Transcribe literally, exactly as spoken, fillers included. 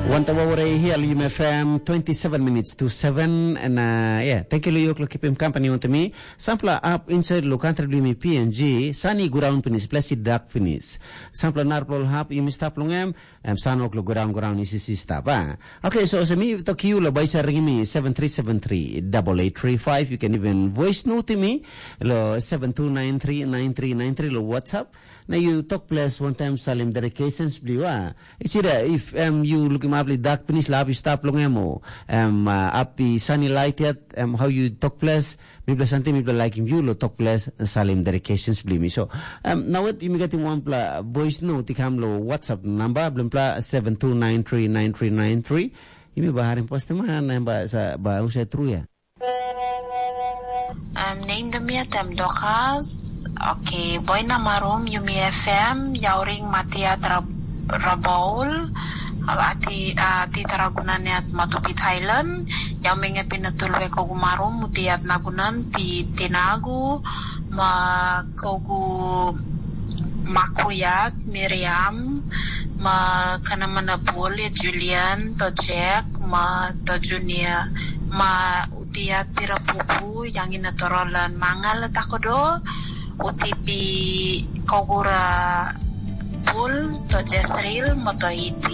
Wanta wawara i hia lo Yum F M, twenty-seven minutes to seven, and uh, yeah, thank you lo yoklo kipim company wanto mi. Sampla up inside lo country bli mi P N G, sani guraun pinis, plesi dak pinis. Sampla narpol hap yumi stap long em, em sanok lo guraun guraun isisi stap, ah. Okay, so se mi tok you lo baisa ring mi seven three seven three double eight three five. You can even voice note mi lo seven two nine three nine three nine three lo WhatsApp. Na you talk plus one time salim dedications bliwa. It's either if um, you look him up like dark finish la api stap long em o um, uh, api sunny light yet um, how you talk plus mipla santi mipla like him you lo talk plus salim dedications bli mi. So um, now what you get him one pla voice note ikam lo WhatsApp number blimpla seven two nine three nine three nine three. Imi ba harim poste man em ba sa ba usa tru ya. Um, name de mi atem Dokas. Okay, boina marum yumi F M, yauring matia tra rabaul. Ati ati taraguna neat matupi Thailand. Yau menge pina tulve kogu marum mutiat nagunan pi tinagu ma kogu makuyat Miriam ma kanamana bul Julian to Jack ma to Junior ma utia tira pupu yang ina torolan mangal takodo utipi kogura bul to Jesril mo to iti.